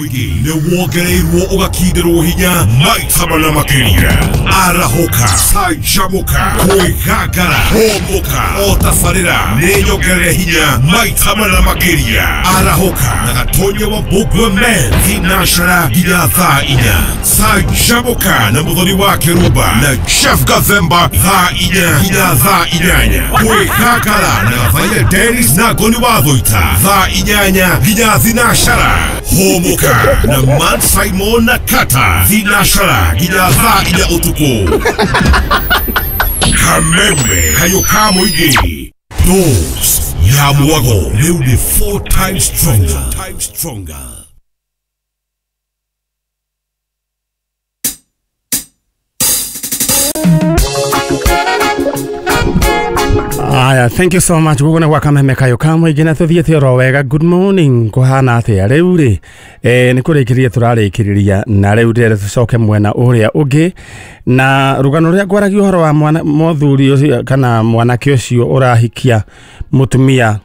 Nĩ wongereirwo ũgakinderwo hinya maita mana makĩria. Arahũka, canjamũka, kwĩgangara, hũmũka, o tabarĩra nĩ nyongerere hinya maita mana makĩria. Arahũka na Gatonya wa Mbũngwe Men thinashara nginya thaa 4. Canjamũka na Mũthoni wa Kĩrumba na Jeff Gathemba thaa 4 nginya thaa 8. Kwĩgangara na Gathaia Dennis na Ngoni wa Thũita thaa 8 nginya thinashara. Hũmũka na Man Simon na Kata thinashara nginya thaa 4 ũtukũ. Kameme kayo ka mũingĩ. Dose ya mwago rĩu nĩ 4 times stronger. Aya, thank you so much. Gũkũ nĩ gwa Kameme Kayũ ka mũingĩ na tũthiĩte oro wega. Good morning. Kũhana atĩa rĩu rĩ? Nĩ kũrĩkĩrĩria tũrarĩkĩrĩria na rĩu ndĩrenda tũcoke mwena ũrĩa ũngĩ na rũgano rũrĩa ngwaragia ũhoro wa mwana mũthuri ũcio kana mwanake ũcio ũrahikia mũtumia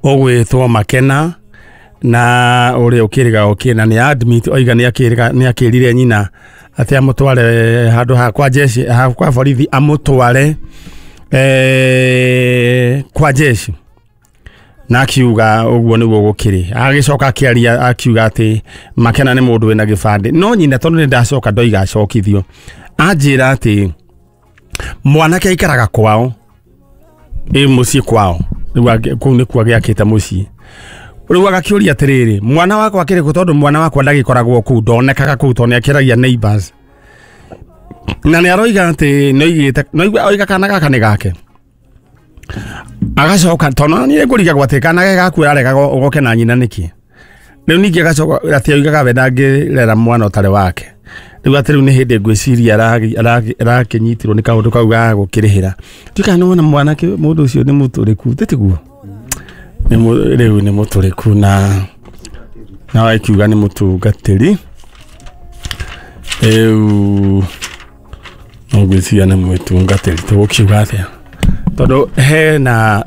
ũgwĩtwo Makena na ũrĩa ũkĩrĩga ũkĩ na nĩ admit oiga nĩ akĩrĩga nĩ akĩrire nyina atĩ amũtware handũ ha kwa jeshi ha kwa borithi amũtware kwa jeshi na akiuga ũguo nĩguo gũkĩrĩ. Agĩcoka akĩaria akiuga atĩ Makena nĩ mũndũ wĩna gĩbandĩ, no nyina tondũ nĩ ndacoka ndoiga acokithio, anjĩra atĩ mwanake aikaraga kwao, ĩ mũciĩ kwao, rĩu kũu nĩkuo agĩakĩte mũciĩ. Rĩu agakĩũria atĩrĩrĩ, mwana wakwa akĩrĩ kũ? Tondũ mwana wakwa ndagĩkoragwo kũu, ndonekaga kũu tondũ nĩakĩragia neighbors. Na nĩ aroiga atĩ nĩoigĩte, oiga kana gaka nĩ gake. Agacoka tondũ niĩ ngũrigagwo atĩ kana gake gaku ararega goke na nyina nĩkĩ. Rĩu ningĩ agacoka atĩ oigaga we ndangĩrera mwana ũtarĩ wake. Rĩu atĩ rĩu nĩ hĩndĩ ngwĩciria arakĩnyitirwo nĩ kaũndũ kau ga gũkĩrĩhĩra. Ndiũĩ kana nĩwona mwanake mũndũ ũcio nĩ mũtũrĩku, tĩtiguo? Rĩu nĩ mũtũrĩku na akiuga nĩ mũtungatĩri. Rĩu no ngwĩciria nĩ mũtungatĩri, tũgũkiuga atĩa? Tondũ hena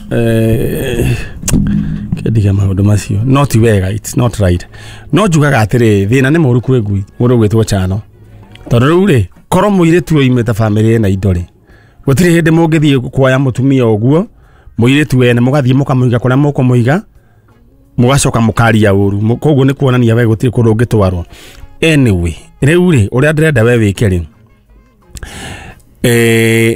kĩndiga maũndũ macio, no ti wega, it's not right. No njugaga atĩrĩrĩ, thĩna nĩ mũũru kwĩ ngui, mũndũ ũgwĩtwo Chano. Tondũ rĩu rĩ, korwo mũirĩtu oimĩte bamĩrĩ ĩna indo rĩ, gũtirĩ hĩndĩ mũngĩthiĩ kuoya mũtumia ũguo, mũirĩtu wene mũgathiĩ mũkamũiga kũrĩa mũkũmũiga, mũgacoka mũkaria ũru. Koguo nĩ kuonania we gũtirĩ kũndũ ũngĩtwarwo. Anyway, rĩu rĩ, ũrĩa ndĩrenda we wĩke rĩ,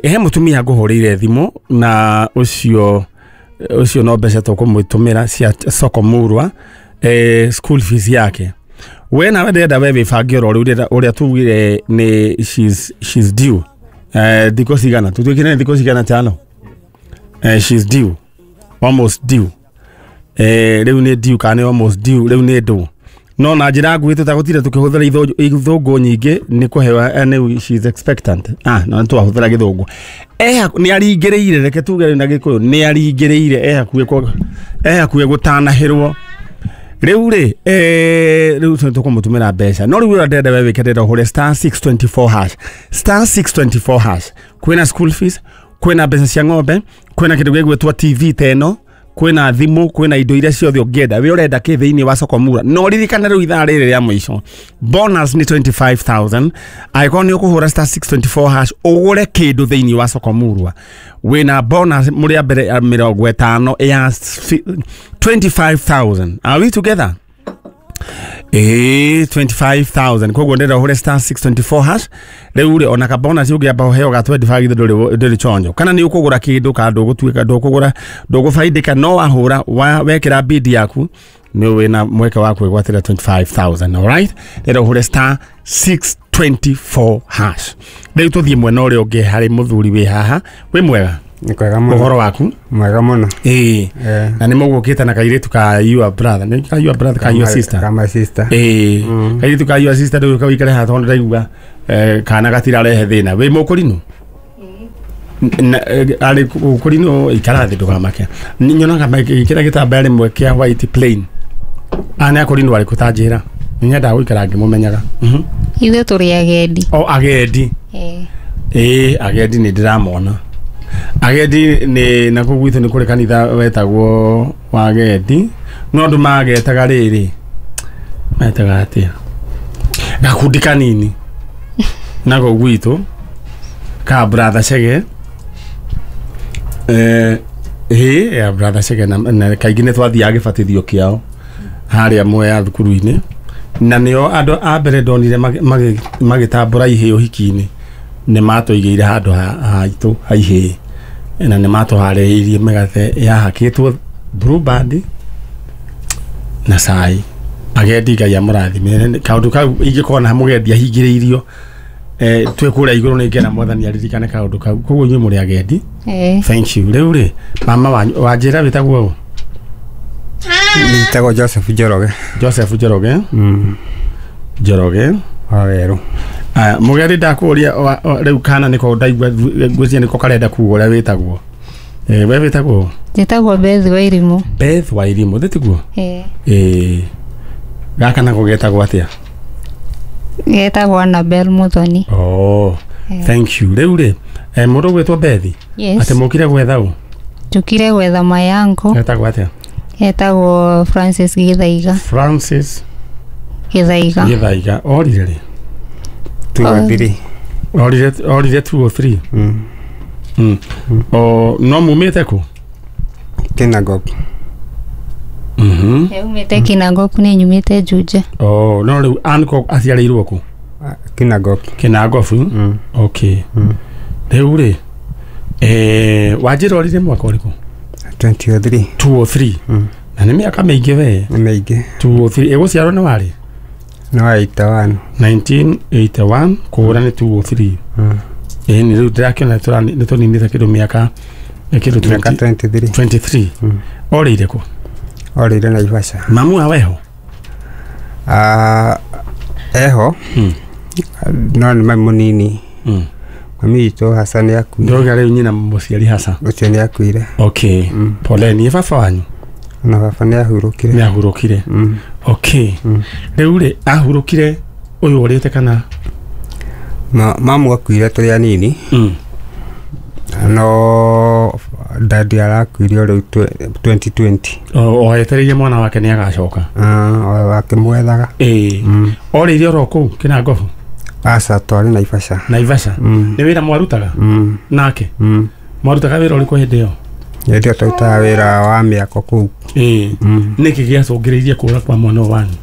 he mũtumia ngũhũrĩire thimũ na ũcio no mbeca tũkũmũtũmĩra cia soko murwa, school fees yake. We nawe ndĩrenda we wĩbange oro rĩu ũrĩa tugire nĩ she's due. Thikũ cigana? Tũtuĩkire nĩ thikũ cigana Chano? She's due. Almost due. Rĩu nĩ due kana nĩ almost due, rĩu nĩ ndũ. No na njĩra nguhĩ tũtagũtire tũkĩhũthĩra ithũngũ nyingĩ nĩ kũhewa, nĩ she's expectant. No twahũthĩra gĩthũngũ. Nĩ aringĩrĩire, reke tuge na Gĩkũyũ, nĩ aringĩrĩire, e hakuhĩ gũtanahĩrwo. Rĩu rĩ, rĩu tũkũmũtũmĩra mbeca. No rĩu ũrĩa ndĩrenda we wĩke, ndĩrenda ũhũre star 624 hash. Star 624 hash. Kwĩna school fees, kwĩna mbeca cia ng'ombe, kwĩna kĩndũ gĩgwĩtwo TV ta ĩno, kwĩna thimũ, kwĩna indo iria ciothe ũngĩenda. We ũrenda kĩ thĩinĩ wa soko mura? No ririkana rĩu ithaa rĩrĩ rĩa mũico, bonus nĩ 25,000. Angĩkorwo nĩ ũkũhũra star 624 hash ũgũre kĩndũ thĩinĩ wa soko murwa, wĩna bonus mũrĩa mbere ya 50 ya 25,000. Are we together? 25,000. Koguo ndĩrenda ũhũre star 624 hash. Rĩu rĩ, ona ka bonus ũngĩamba ũheo ga 25 githĩ ndũrĩ chonjo. Kana nĩ ũkũgũra kĩndũ kana ndũgũtuĩka ndũkũgũra, ndũgũbaidĩka, no wahũra wekĩra bid yaku nĩ wĩna mweke wa kwĩgwatĩra 25,000. Alright, ndĩrenda ũhũre star 624 hash. Rĩu tũthiĩ mwena ũrĩa ũngĩ harĩ mũthuri wĩ haha. Wĩ mwega? Nĩ kwega mũno. Ũhoro waku? Mwega mũno. Na nĩ mũgũkĩte na kairĩtu ka your brother, nĩ ka your brother ka your sister? Ka my sister. Kairĩtu ka your sister rĩu kawĩikare haha tondũ ndaigua kana gatirarehe thĩna. Wĩ mũkũrinũ? Arĩ mũkũrinũ, ikara thĩ ndũgamake. Nyonaga magĩkĩra gĩtambaya rĩmwe kĩa white plain. Aya nĩ akũrinũ arĩkũ ta njĩra? Nĩ nyendaga gũikara ngĩmũmenyaga. Ithuĩ tũrĩ agendi. O agendi. Agendi nĩ ndĩramona. Agendi nĩ na kũu gwitũ nĩ kũrĩ kanitha wetagwo wa agendi, no andũ magetaga rĩrĩ Metaga atia gakundi kanini nako gwitũ ka brother Chege ya brother Chege na kaingĩ nĩ twathiaga gĩbatithio kĩao harĩa Mwea thukuru-inĩ na nĩo andũ a mbere ndonire magĩtambũra ihĩĩ ũhiki-inĩ nĩ matũigĩire handũ haitũ ha ihĩĩ na nĩ matũharĩrĩirie mĩgate yahakĩtwo Blue Band na cai. Agendi Ngai amũrathime. Kaũndũ kau ingĩkorwo na mũgendi ahingĩrĩirio twĩ kũrĩa igũrũ nĩ ngena Mwathani aririkane kaũndũ kau. Koguo inyuĩ mũrĩ agendi. Thank you. Rĩu rĩ mama wanyu wanjĩra wĩtagwo ũ? Njĩtagwo Joseph Njoroge. Joseph Njoroge. Njoroge wa Werũ. Aya mũgendi ndakũria rĩu kana nĩko ndaigua ngwĩciria nĩko karenda kuga ũrĩa wĩtagwo. We wĩtagwo? Njĩtagwo Beth Wairimu. Beth Wairimu thĩ tiguo? Gaka nako getagwo atia? Getagwo Annabel Muthoni. Oh, thank you. Rĩu rĩ mũndũ ũgwĩtwo Beth? Yes. Atĩ mũkire gwetha ũ? Njũkire gwetha mayango. Getagwo atia? Getagwo Francis Githaiga. Francis Githaiga. Githaiga. Orire rĩ? 203. Orire 203. O no mumĩte kũ? Kinangop. Umĩte Kinangop nĩ nyumĩte Juja. Oh, no rĩu Anko aciarĩirwo kũ? Kinangop. Kinangop. Okay. Rĩu rĩ wanjĩra orire mwaka ũrĩkũ? 2003. 203. Na nĩ mĩaka mĩingĩ we. Nĩ mĩingĩ. 203. Ĩgũciarwo nĩ warĩ? Nĩ wa 81. 1981 kũhũra nĩ 203. Nĩ rĩu ndĩrakĩona nĩ tũninĩte kĩndũ mĩaka kĩndũ 23. 23. Orĩire kũ? Orĩire Naivasha. Mamu wa weho? Eho. No nĩ mami mũnini. Mami witũ Hasa nĩ akuire. Ndĩrauga rĩu nyina mũciari Hasa. Ũcio nĩ akuire. Okay. Poleni. Baba wanyu? Ona baba nĩ ahurũkire. Nĩ ahurũkire. Okay. Rĩu rĩ ahurũkire ũyũ ũrĩte kana? Mamu akuire tũrĩ anini. No dadi arakuire o rĩu 2020. O etereire mwana wake nĩ agacoka. Akĩmwethaga. Orĩire oro kũu Kinangop? Aca, twarĩ Naivasha. Naivasha. Nĩ wĩra mwarutaga? Nake? Mwarutaga wĩra ũrĩkũ hĩndĩ ĩyo? Hĩndĩ ĩyo twarutaga wĩra wa mĩako kũu. Nĩkĩ gĩacũngĩrĩirie kũra kwa mwana ũyũ wanyu?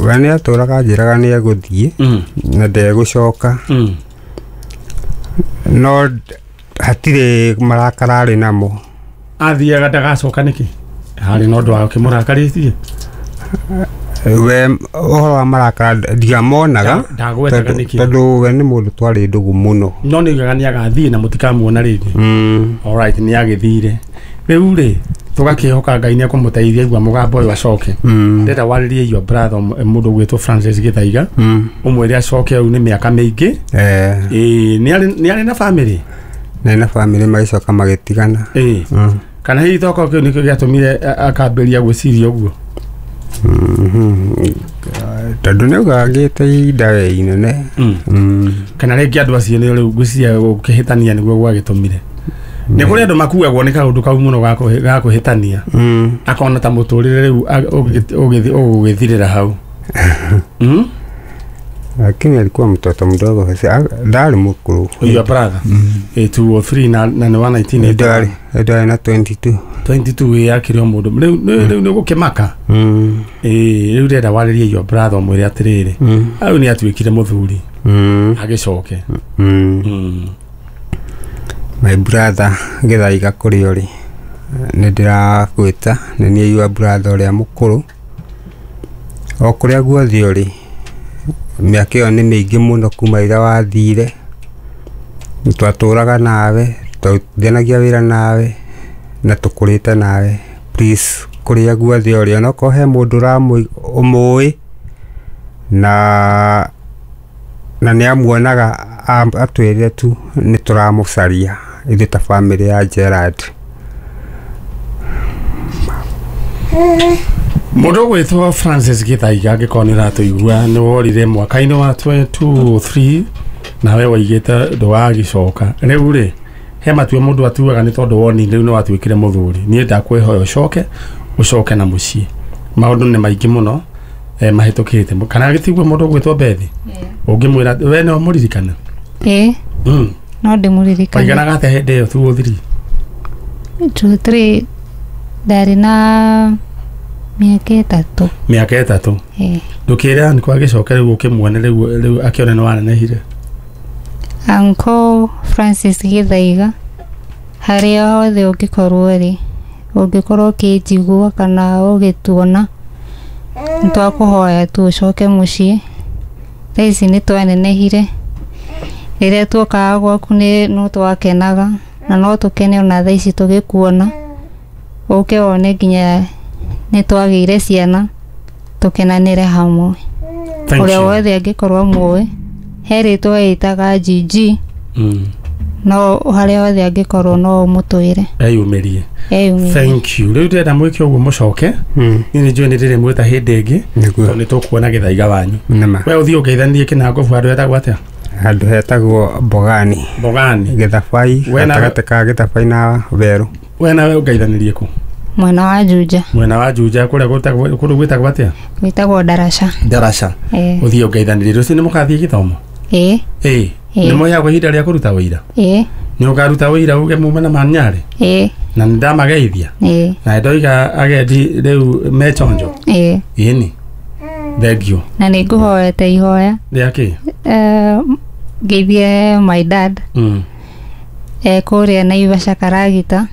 We nĩ atũraga anjĩraga nĩ egũthiĩ na ndegũcoka. No hatirĩ marakara arĩ namo. Athiaga ndagacoka nĩkĩ? Harĩ na ũndũ wa ũkĩmũrakarĩtie? We ũhoro wa marakara ndiamonaga ndagwetaga nĩkĩ? Tondũ we nĩ mũndũ twarĩ ndũgũ mũno. No nĩ oigaga nĩ agathiĩ na mũtikamuona rĩngĩ. Alright, nĩ agĩthire. Rĩu rĩ tũgakĩhoka Ngai nĩ ekũmũteithia igua mũgambo ũyũ acoke. Ndĩrenda warĩrie your brother mũndũ ũgwĩtwo Francis Githaiga. Ũmwĩre acoke rĩu nĩ mĩaka mĩingĩ. Nĩ arĩ na family? Nĩ na family magĩcoka magĩtigana. Kana hihi tokorwo kĩu nĩkĩo gĩatũmire akambĩrĩria gwĩciria ũguo? Tondũ nĩ augaga ngĩte ihinda we inene. Kana rĩngĩ andũ acio nĩo rĩu ngwĩciria gũkĩhĩtania nĩguo gwagĩtũmire. Nĩ kũrĩ andũ makuagwo nĩ kaũndũ kau mũno ga kũhĩtania. Akona ta mũtũrĩre rĩu ũgũgĩthirĩra hau. Lakini alikuwa mtoto mdogo, ndarĩ mũkũrũ. Your brother? 203 na nĩ wa 1980. Ndarĩ na 22. 22 yakĩrĩ o mũndũ. Rĩu nĩ ũgũkĩmaka. Rĩu ndĩrenda warĩrie your brother ũmwĩre atĩrĩrĩ. Rĩu nĩ atuĩkire mũthuri. Agĩcoke. My brother Githaiga kũrĩa ũrĩ nĩ ndĩrakwĩta nĩ niĩ your brother ũrĩa mũkũrũ. O kũrĩa guothe ũrĩ mĩaka ĩyo nĩ mĩingĩ mũno kuma rĩrĩa wathire. Twatũraga nawe, twarutithanagia wĩra nawe na tũkũrĩte nawe. Please kũrĩa guothe ũrĩ onokorwo he mũndũ ũmũĩ na nĩ amuonaga atwĩrire tu nĩ tũramũcaria ithuĩ ta family ya Gerard. Mũndũ ũgwĩtwo Francis Githaiga angĩkorwo nĩ ũratũigua nĩ worire mwaka-inĩ wa 2023 nawe waigĩte ndũgagĩcoka. Rĩu rĩ he matua mũndũ atuaga nĩ tondũ woni rĩu nĩ watuĩkire mũthuri. Niĩ ndakwĩhoya ũcoke na mũciĩ. Maũndũ nĩ maingĩ mũno Mahĩtũkĩte kana gĩtigwo mũndũ ũgwĩtwo Bethi ũngĩmwĩra we no mũririkana Ĩĩ no ndĩmũririkane. Waiganaga atĩa hĩndĩ ĩyo 2 or 3? 2 3 ndarĩ na mĩaka 3. Mĩaka 3. Ĩĩ. Ndũkĩre anko agĩcoke rĩu ũkĩmuone rĩu akĩone nĩ wanenehire. Uncle Francis Gĩthaiga harĩa hothe ũngĩkorwo rĩ, ũngĩkorwo ũkĩnjigua kana ũgĩtuona, nĩtwakũhoya tu ũcoke mũciĩ. Thaa ici nĩtwanenehire, rĩrĩa tuokaga gwaku no twakenaga na no tũkene ona thaa ici tũgĩkuona, ũke wone nginya nĩtwagĩire ciana tũkenanĩre hamwe. Ũrĩa wothe angĩkorwo mũĩ, he rĩtwa ĩtaga GG, no harĩa hothe angĩkorwo no ũmũtwĩre. Eyumĩrie. Thank you. Rĩu ndĩrenda mwĩke ũguo mũcoke. Niĩ nĩ njũĩ nĩ ndĩrĩmwĩta hĩndĩ ĩngĩ tondũ nĩ tũkuona Gĩthaiga wanyu. We ũthiĩ ũngeithanie Kĩnangobu handũ hetagwo atĩa? Handũ hetagwo Mbogani. Mbogani. Gĩthabai, gatagatĩ ka Gĩthabai na Werũ. We nawe ũngeithanĩrie kũ? Mwena wa Juja. Mwena wa Juja kũrĩa kũndũ gwĩtagwo atĩa? Gwĩtagwo Ndaraca. Ndaraca. Ũthiĩ ũngeithanĩrie. Rũciũ nĩ mũgathiĩ gĩthomo? Ĩĩ. Ĩĩ. Nĩ mũheagwo ihinda rĩa kũruta wĩira? Ĩĩ. Nĩ ũkaruta wĩira uge mume na Manyarĩ? Ĩĩ. Na nĩ ndamageithia? Ĩĩ. Na ndoiga agendi rĩu me chonjo? Ĩĩ. Ĩni. Thank you. Na nĩ ngũhoete ihoya. Rĩa kĩ? Ngeithie my dad. Kũrĩa Naivasha Karagita.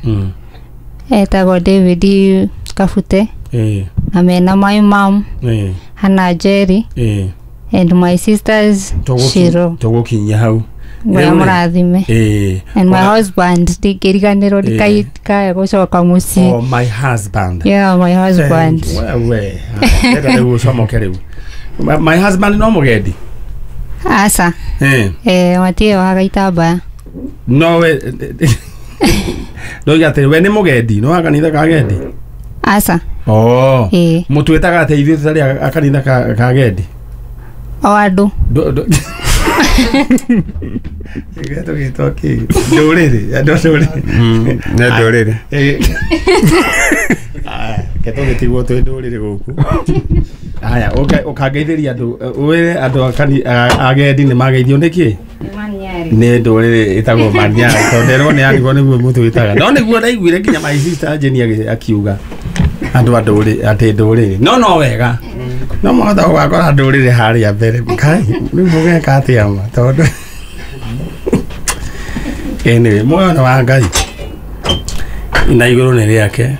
Etagwo David Kabute. Ĩĩ. Na mena my mom. Ĩĩ. Hannah Jerry. Ĩĩ. And my sisters Shiro. Tũgũkinyia hau. Ngai mũrathime. Ĩĩ. And my husband ndingĩriganĩrwo ndikae gũcoka mũciĩ. Oh, my husband. Yeah, my husband. Wewe. Ndĩrenda rĩu ũcomoke rĩu. My husband no mũgendi? Aca. Ĩĩ. Matirĩ wa gaitambaya. No we ndoiga atĩrĩ we nĩ mũgendi, no wa kanitha ka gendi? Aca. Oh. Ĩĩ. Mũtwĩtaga atĩa ithuĩ tũtarĩ a kanitha ka gendi? O andũ. Tũgĩtwo kĩ? Ndũrĩrĩ, andũ ndũrĩrĩ. Nĩ ndũrĩrĩ. Reke tũgĩtigwo twĩ ndũrĩrĩ gũkũ. Aya, ũkangeithĩria andũ, wĩre andũ agendi nĩ mageithio nĩkĩ? Nĩ ndũrĩrĩ ĩtagwo Manyarĩ, tondũ nderwo nĩ arigwo nĩguo mũtwĩtaga. No nĩguo ndaiguire nginya my sister Jenny akiuga andũ a ndũrĩrĩ, atĩ ndũrĩrĩ. No no wega. No mũhota gũgakora ndũrĩrĩ harĩa mbere. Kai, rĩu mũgeka atĩa ma? Tondũ anyway, muoyo nĩ wa Ngai na igũrũ nĩ rĩake.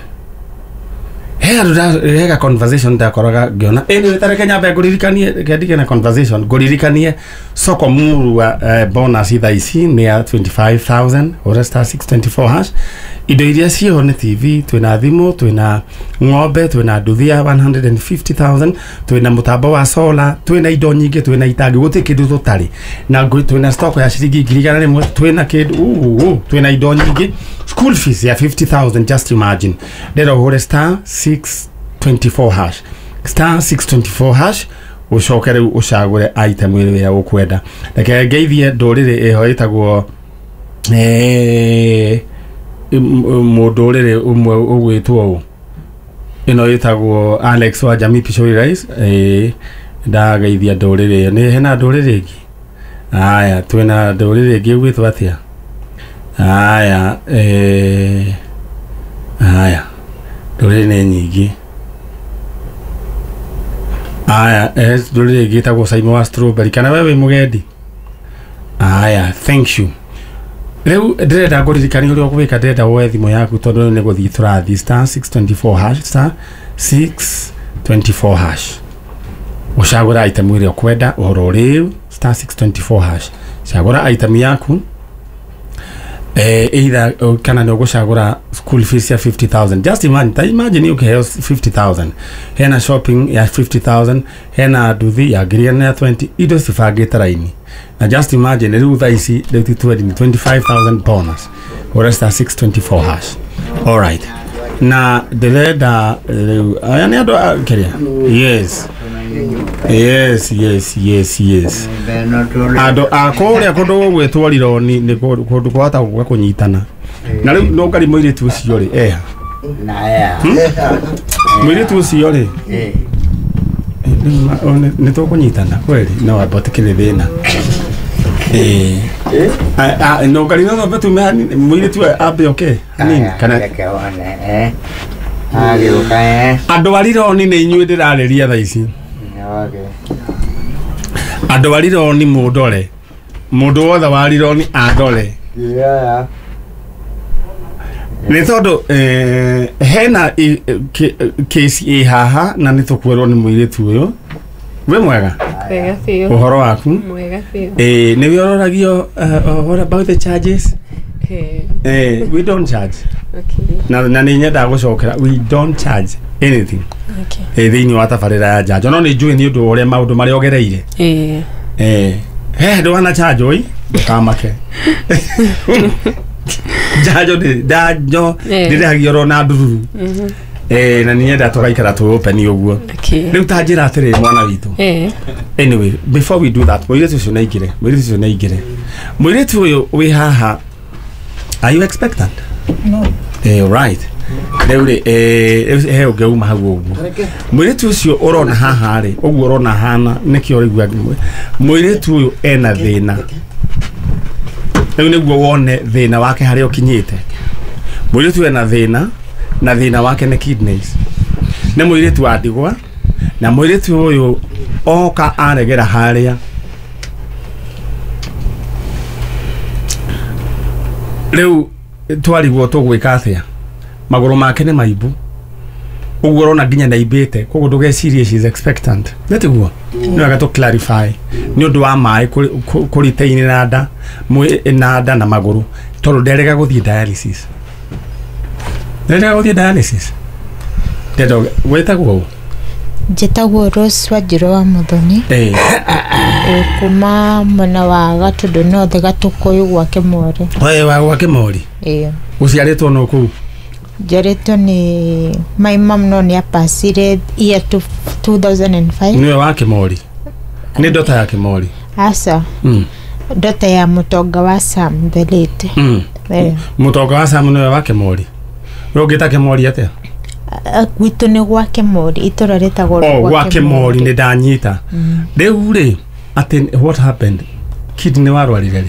He andũ hega conversation ndakoraga ngĩona. Anyway, ta reke nyambe ngũririkanie, reke ndige na conversation ngũririkanie soko murua bonus thaa ici nĩ ya 25,000 ũrĩa star 624 hash. Indo iria ciĩho nĩ TV, twĩna thimũ, twĩna ng'ombe, twĩna nduthi ya 150,000, twĩna mũtambo wa solar, twĩna indo nyingĩ, twĩna itangi, gũtirĩ kĩndũ tũtarĩ. Na twĩna stock ya ciringi 100,000, twĩna kĩndũ, twĩna indo nyingĩ. School fees ya 50,000, just imagine. Ndĩrenda ũhũre star 624 hash. Star 624 hash ũcoke rĩu ũcagũre item ĩrĩa ũkwenda. Reke ngeithie ndũrĩrĩ ĩho ĩtagwo mũndũrĩrĩ ũmwe ũgwĩtwo ũũ. Ĩno ĩtagwo Alex wa Jamii Pishori Rice. Ndageithia ndũrĩrĩ ĩyo. Nĩ hena ndũrĩrĩ ĩngĩ? Aya, twĩna ndũrĩrĩ ĩngĩ ĩgwĩtwo atĩa? Aya, aya, ndũrĩrĩ nĩ nyingĩ. Aya, ndũrĩrĩ ĩngĩ ĩtagwo Simon wa Strawberry. Kana we wĩ mũgendi? Aya, thank you. Rĩu ndĩrenda ngũririkanie ũrĩa ũgwĩka, ndĩrenda woe thimũ yaku tondũ rĩu nĩ gũthiĩ tũrathiĩ star 624 hash, star 624 hash. Ũcagũra item ĩrĩa ũkwenda ũhoro rĩu, star 624 hash. Cagũra item yaku. Either kana nĩ ũgũcagũra school fees ya 50,000. Just imagine, ta imagine ũkĩheo 50,000. Hena shopping ya 50,000, hena nduthi ya 120,000, indo cibangĩte raini. Na just imagine rĩu thaa ici rĩu ti 25,000 bonus. Ũrĩa star 624 hash. All right. Na ndĩrenda rĩu aya nĩ andũ kĩrĩa? Yes. Yes, yes, yes, yes. Andũ a kũrĩa kũndũ gũgwĩtwo Rironi nĩ kũndũ kwahota gũka kũnyitana. Na rĩu no ngari mũirĩtu ũcio rĩ, eha. Mũirĩtu ũcio rĩ. Nĩ tũkũnyitana kweli no amba tũkĩrĩ thĩna. No ngari no thombe tume mũirĩtu ambe oke hanini kana reke wone agĩũka andũ a Rironi nĩ inyuĩ ndĩrarĩria thaa ici. Andũ a Rironi mũndore, mũndũ wothe wa Rironi andore nĩ tondũ hena case ĩ haha na nĩ tũkwerwo nĩ mũirĩtu ũyũ. Wĩ mwega? Wega biũ. Ũhoro waku? Mwega biũ. Nĩ wĩororagio what about the charges? We don't charge. Okay. Na nĩ nyendaga gũcokera, we don't charge anything. Okay. Thĩinĩ wa tabarĩra ya njanjo no nĩ njũĩ nĩ ũndũ wa ũrĩa maũndũ marĩa ũgereire. He ndwana charge oi ndũkamake. Njanjo njanjo ndĩrĩhagio oro na ndururu. Na nĩ nyenda tũgaikara twĩ open ũguo. Rĩu ta njĩra atĩrĩrĩ mwana witũ. Anyway, before we do that, mũirĩtu ũcio nĩaingĩre, mũirĩtu ũcio nĩaingĩre. Mũirĩtu ũyũ wĩ haha, are you expectant? No. Right. Rĩu rĩ, he ũngĩ uma hau ũguo. Mũirĩtu ũcio ũrona haha rĩ, ũguo ũrona hana nĩkĩo ũraigua mũirĩtu ũyũ ena thĩna. Rĩu nĩguo wone thĩna wake harĩa ũkinyĩte. Mũirĩtu ena thĩna na thĩna wake nĩ kidneys. Nĩ mũirĩtu wa ndigwa na mũirĩtu ũyũ oka aregera harĩa. Rĩu twarigwo tũgwĩka atĩa? Magũrũ make nĩ maimbu. Ũguo ũrona nginya nĩaimbĩte, koguo ndũgecirie she is expectant. Nĩ tiguo? Nĩ wega tũ clarify. Nĩ ũndũ wa maĩ kũritaini na nda, na nda na magũrũ tondũ nderega gũthiĩ dialysis. Nderega gũthiĩ dialysis. Ndendo wĩtagwo ũ? Njĩtagwo Rose Wanjirũ wa Muthoni. Kuma mwena wa Gatũndũ North Gatũkũyũ gwa Kĩmori. Oe wa gwa Kĩmori? Ũciarĩtwo no kũu? Njiarĩtwo nĩ my mom no nĩ apacire year 2005. Nĩwe wa Kĩmori? Nĩ ndota ya Kĩmori? Aca. Ndota ya mũtonga wa Sam the late. Mũtonga wa Sam nĩwe wa Kĩmori? We ũngĩta Kĩmori atĩa? Gwitũ nĩ gwa Kĩmori, itũra rĩtagwo gwa Kĩmori nĩ ndanyita. Rĩu rĩ, atĩ what happened? Kidney warwarire rĩ?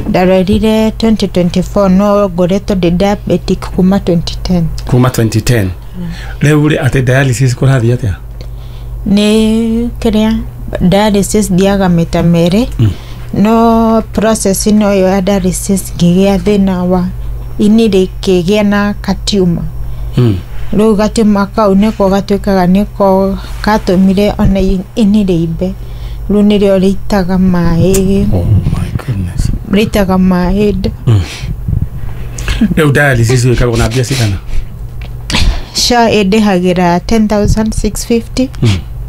Ndarwarire 2024 no ngoretwo ndĩ diabetic kuma 2010. Kuma 2010. Rĩu rĩ, atĩ dialysis kũrathiĩ atĩa? Nĩ kĩrĩa dialysis thiaga maita merĩ. No process ĩno ĩyo ya dialysis ngĩgĩa thĩna wa ini rĩkĩgĩa na gatiuma. Rĩu gatiuma kau nĩko gatuĩkaga nĩko katũmire ona ini rĩimbe. Rĩu nĩrĩo rĩitaga maĩ. Oh my goodness. Rĩitaga maĩ. Rĩu dialysis ĩkagwo na mbia cigana? SHA ĩndĩhagĩra 10,650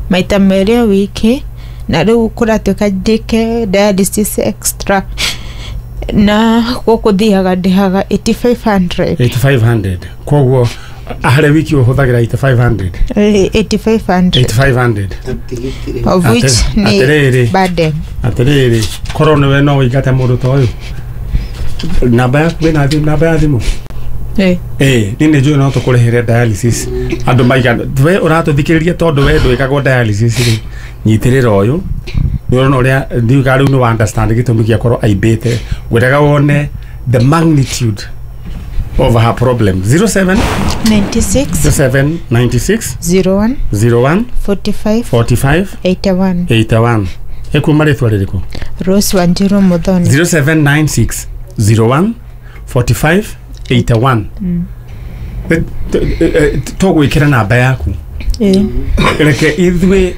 maita merĩ o wiki, na rĩu kũratuĩka njĩke dialysis extra na gũkũ thiaga ndĩhaga 8,500. 8,500. Koguo harĩ wiki ũhũthagĩra 8,500? 8,500. 8,500. Of which nĩ burden. Atĩrĩrĩ, korwo nĩwe no ũingate mũndũ ta ũyũ. Namba yaku wĩna namba ya thimũ? Niĩ nĩ njũĩ no tũkũrĩhĩre dialysis. Andũ maigana we ũratũthikĩrĩria tondũ we ndwĩkagwo dialysis rĩ, nyitĩrĩra ũyũ. Nĩ ũrona ũrĩa ndiuga rĩu nĩ understand gĩtũmi gĩa korwo aimbĩte. Ngwendaga wone the magnitude of her problem. 07 96 07 96 01 01 45 45 81 81. Ekuma rĩtwa rĩrĩkũ? Rose Wanjiru Muthoni. 0796 01 45 81. Tũgwĩkĩra namba yaku. Reke ithuĩ